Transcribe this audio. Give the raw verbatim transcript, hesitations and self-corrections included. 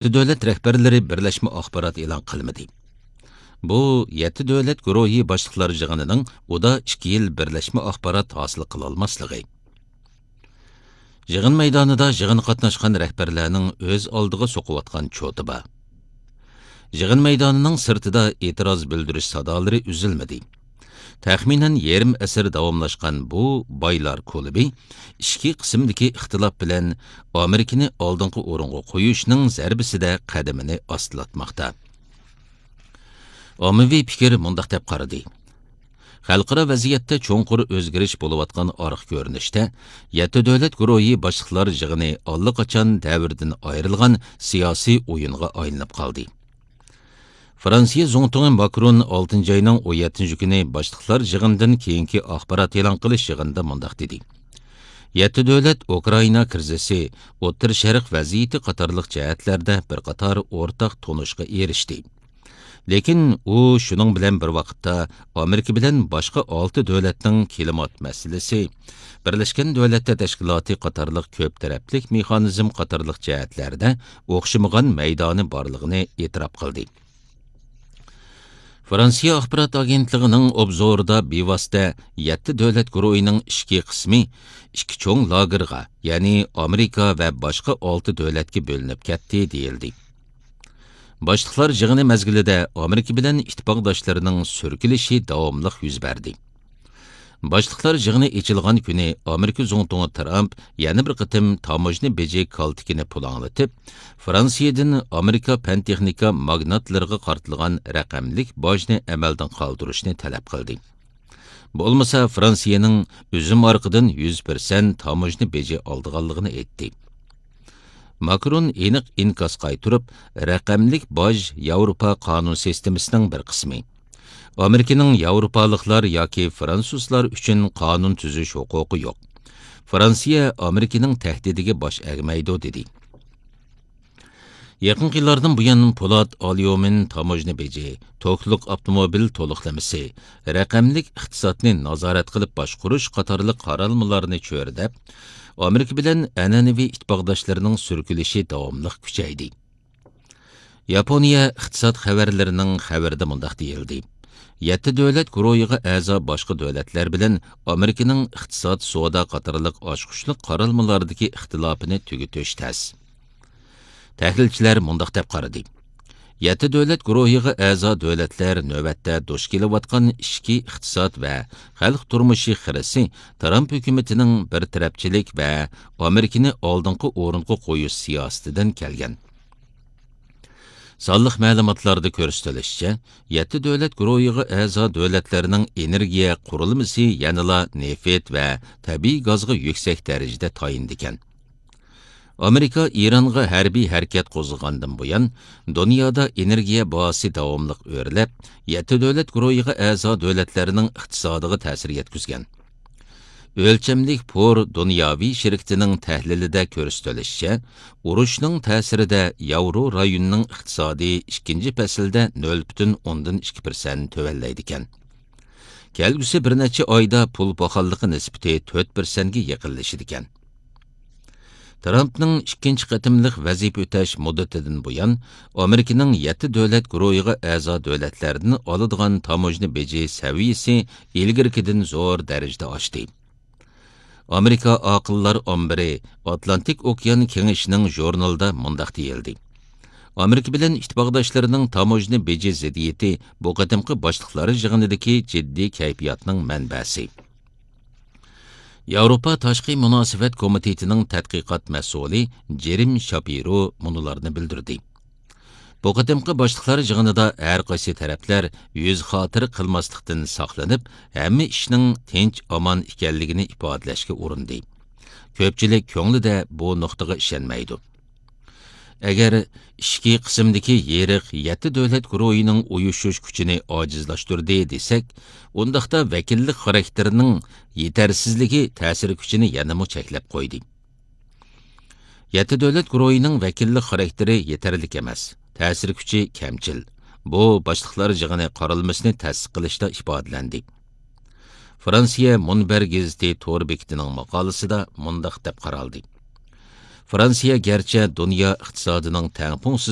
يەتتە دۆلەت رەھبەرلىرى بىرلەشمە ئاخبارات ئېلان قىلمىدى. بۇ يەتتە دۆلەت گۇرۇھى باشلىقلار يىغىنىنىڭ ئۇدا ئىككى يىل بىرلەشمە ئاخبارات ھاسىل قىلالماسلىقى. يىغىن مەيدانىدا يىغىنغا قاتناشقان رەھبەرلەرنىڭ ئۆز ئالدىغا سوقۇۋاتقان چوتى بار. يىغىن مەيدانىنىڭ سىرتىدا ئېتىراز بىلدۈرۈش سادالىرى ئۈزۈلمىدى. تەخمىنەن يېرىم ئەسىر داۋاملاشقان بۇ بايلار كۇلۇبى ئىچكى قىسىمدىكى ئىختىلاپ بىلەن ئامېرىكىنى ئالدىنقى ئورۇنغا قويۇشنىڭ زەربىسىدە قەدىمىنى ئاستىلاتماقتا. ئاممىۋى پىكىر مۇنداق دەپ قارىدى: خەلقئارا ۋەزىيەتتە چوڭقۇر ئۆزگىرىش بولۇۋاتقان ئارقا كۆرۈنۈشتە، يەتتە دۆلەت گۇرۇھى باشلىقلار يىغىنى ئاللىقاچان دەۋردىن ئايرىلغان سىياسىي ئويۇنغا ئايلىنىپ قالدى. فرانسىيە زۇڭتۇڭى ماكرون ئالتىنچى ئاينىڭ ئون يەتتىنچى كۈنى باشلىقلار يىغىنىدىن كېيىنكى ئاخبارات ئېلان قىلىش يىغىنىدا مۇنداق دېدى: يەتتە دۆلەت ئۇكرائىنا كىرىزىسى، ئوتتۇرا شەرق ۋەزىيىتى قاتارلىق جەھەتلەردە بىر قاتار ئورتاق تونۇشقا ئېرىشتى. لېكىن ئۇ شۇنىڭ بىلەن بىر ۋاقىتتا ئامېرىكا بىلەن باشقا ئالتە دۆلەتنىڭ كىلىمات مەسىلىسى، بىرلەشكەن دۆلەتلەر تەشكىلاتى قاتارلىق كۆپ تەرەپلىك مېخانىزم قاتارلىق جەھەتلەردە ئوخشىمىغان مەيدانى بارلىقىنى ئېتىراپ قىلدى. فرانسىيە ئاخبارات ئاگېنتلىقىنىڭ ئوبزورىدا بىۋاسىتە يەتتە دۆلەت گۇرۇھىنىڭ ئىچكى قىسمى ئىككى چوڭ لاگېرغا، يەنى ئامېرىكا ۋە باشقا ئالتە دۆلەتكە بۆلۈنۈپ كەتتى دېيىلدى. باشلىقلار يىغىنى مەزگىلىدە ئامېرىكا بىلەن ئىتتىپاقداشلىرىنىڭ سۈركىلىشى داۋاملىق يۈز بەردى. باشلىقلار يىغىنى ئېچىلغان كۈنى ئامېرىكا زۇڭتۇڭى ترامپ يەنە بىر قېتىم تاموژنا بېجى كالتىكىنى پۇلاڭلىتىپ، فرانسىيەدىن ئامېرىكا پەن-تېخنىكا ماگناتلىرىغا قارىتىلغان رەقەملىك باجنى ئەمەلدىن قالدۇرۇشنى تەلەپ قىلدى. بولمىسا، فرانسىيەنىڭ ئۈزۈم ئارقىدىن يۈز پىرسەنت تاموژنا بېجى ئالىدىغانلىقىنى ئېيتتى. ماكرون ئېنىق ئىنكاس قايتۇرۇپ، رەقەملىك باج ياۋروپا قانۇن سىستېمىسىنىڭ بىر قىسمى. ئامېرىكىنىڭ ياۋروپالىقلار ياكى فرانسۇزلار ئۈچۈن قانۇن تۈزۈش ھوقۇقى يوق. فرانسىيە ئامېرىكىنىڭ تەھدىتىگە باش ئەگمەيدۇ، دېدى. يېقىنقى يىللاردىن بۇيان، پولات، ئاليۇمىن تاموژنا بېجى، توكلۇق ئاپتوموبىل تولۇقلىمىسى، رەقەملىك ئىقتىسادنى نازارەت قىلىپ باشقۇرۇش قاتارلىق قارالمىلارنى چۆرىدەپ، ئامېرىكا بىلەن ئەنئەنىۋى ئىتتىپاقداشلىرىنىڭ سۈركىلىشى داۋاملىق كۈچەيدى. ياپونىيە ئىقتىساد خەۋەرلىرىنىڭ خەۋىرىدە مۇنداق دېيىلدى: يەتتە دۆلەت گۇرۇھىغا ئەزا باشقا دۆلەتلەر بىلەن ئامېرىكىنىڭ ئىقتىساد، سودا قاتارلىق ئاچقۇچلۇق قارالمىلاردىكى ئىختىلاپىنى تۈگىتىش تەس. تەھلىلچىلەر مۇنداق دەپ قارىدى: يەتتە دۆلەت گۇرۇھىغا ئەزا دۆلەتلەر نۆۋەتتە دۇچ كېلىۋاتقان ئىچكى ئىقتىساد ۋە خەلق تۇرمۇشى خىرىسى ترامپ ھۆكۈمىتىنىڭ بىر تەرەپچىلىك ۋە ئامېرىكىنى ئالدىنقى ئورۇنغا قويۇش سىياسىتىدىن كەلگەن. سانلىق مەلۇماتلاردا كۆرسىتىلىشىچە، يەتتە دۆلەت گۇرۇھىغا ئەزا دۆلەتلەرنىڭ ئېنېرگىيە قۇرۇلمىسى يەنىلا نېفىت ۋە تەبىئىي گازغا يۈكسەك دەرىجىدە تايىنىدىكەن. ئامېرىكا ئىرانغا ھەربىي ھەرىكەت قوزغىغاندىن بۇيان، دۇنيادا ئېنېرگىيە باھاسى داۋاملىق ئۆرلەپ، يەتتە دۆلەت گۇرۇھىغا ئەزا دۆلەتلەرنىڭ ئىقتىسادىغا تەسىر يەتكۈزگەن. ئۆلچەملىك پور دۇنياۋى شىركىتىنىڭ تەھلىلىدە كۆرسىتىلىشىچە، ئۇرۇشنىڭ تەسىرىدە ياۋرو رايونىنىڭ ئىقتىسادى ئىككىنچى پەسىلدە نۆل پۈتۈن ئوندىن ئىككى پىرسەنت تۆۋەنلەيدىكەن. كەلگۈسى بىر نەچچە ئايدا پۇل پاخاللىقى نىسبىتى تۆت پىرسەنتكە يېقىنلىشىدىكەن. ترامپنىڭ ئىككىنچى قېتىملىق ۋەزىپە ئۆتەش مۇددىتىدىن بۇيان، ئامېرىكىنىڭ يەتتە دۆلەت گۇرۇھىغا ئەزا دۆلەتلەردىن ئالىدىغان تاموژنا بېجى سەۋىيىسى ئىلگىرىكىدىن زور دەرىجىدە ئاشتى. ئامېرىكا ئاقىللار ئامبىرى ئاتلانتىك ئوكيان كېڭىشىنىڭ ژۇرنىلىدا مۇنداق دېيىلدى: ئامېرىكا بىلەن ئىتتىپاقداشلىرىنىڭ تاموژنا بېجى زىددىيىتى بۇ قېتىمقى باشلىقلار يىغىنىدىكى جىددىي كەيپىياتنىڭ مەنبەسى. ياۋروپا تاشقى مۇناسىۋەت كومىتېتىنىڭ تەتقىقات مەسئۇلى جېرىم شاپىرو مۇنۇلارنى بىلدۈردى: بۇ قېتىمقى باشلىقلار يىغىنىدا ھەر قايسى تەرەپلەر يۈز خاتىرە قىلماسلىقتىن ساقلىنىپ، ھەممە ئىشنىڭ تىنچ-ئامان ئىكەنلىكىنى ئىپادىلەشكە ئۇرۇندى. كۆپچىلىك كۆڭلىدە بۇ نۇقتىغا ئىشەنمەيدۇ. ئەگەر ئىچكى قىسىمدىكى يېرىق يەتتە دۆلەت گۇرۇھىنىڭ ئۇيۇشۇش كۈچىنى ئاجىزلاشتۇردى دېسەك، ئۇنداقتا ۋەكىللىك خاراكتېرىنىڭ يېتەرسىزلىكى تەسىر كۈچىنى يەنىمۇ چەكلەپ قويدى. يەتتە دۆلەت گۇرۇھىنىڭ ۋەكىللىك خاراكتېرى يېتەرلىك ئەمەس، تەسىر كۈچى كەمچىل. بۇ باشلىقلار يىغىنى قارالمىسىنى تەستىق قىلىشتا ئىپادىلەندى. فرانسىيە مۇنبەر گېزىتى تور بېكىتىنىڭ ماقالىسىدا مۇنداق دەپ قارالدى: فرانسىيە گەرچە دۇنيا ئىقتىسادىنىڭ تەڭپۇڭسىز